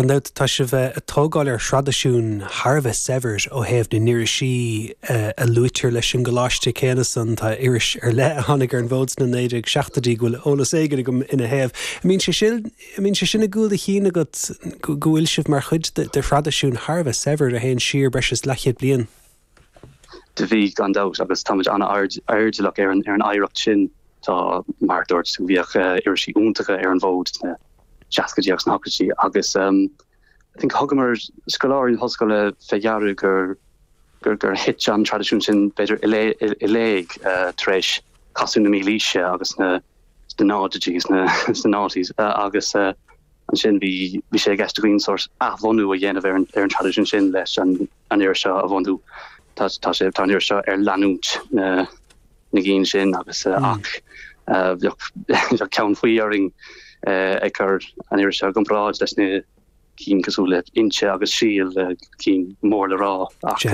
Gan dabht, tá sibh ag tógáil ar thraidisiún thar a bheith saibhir ó thaobh na n-irisí a luaitear leis an gcoláiste céanna san. Tá iris ar leith a tháinig ar an bhfód sna 1970idí go bhfuil eolas éigin agam ina thaobh. An mbíonn sé sin, an mbíonn sé sin i gcúl do chinn agat go bhfuil sibh mar chuid de thraidisiún thar a bheith saibhir a théann siar breis is leathchéad bliain? Do bhí, gan dabht, agus táimid an-airdeallach ar an oidhreacht sin. Tá, mar a dúirt tú, bhíodh irisí iontacha ar an bhfód sna seascaidí agus sna hochtóidí agus I think thugamar, scoláirí na hollscoile, fé dheara gur gur gur thit an traidisiún sin b'fhéidir i léig tar éis casadh na mílaoise agus na sna náididí sna sna noughties agus ansin bhí bhí sé i gceist againn sórt athbhunú a dhéanamh ar an ar an traidisiún sin leis an an iris seo a bhunú. Tá tá sé tá an iris seo ar leanúint na na gcinn sin agus ach bheadh ceann faoi orainn ag cur an iris seo i gcomparáid leis na cinn cosúil le Innti agus Síol, cinn mór le rá ach.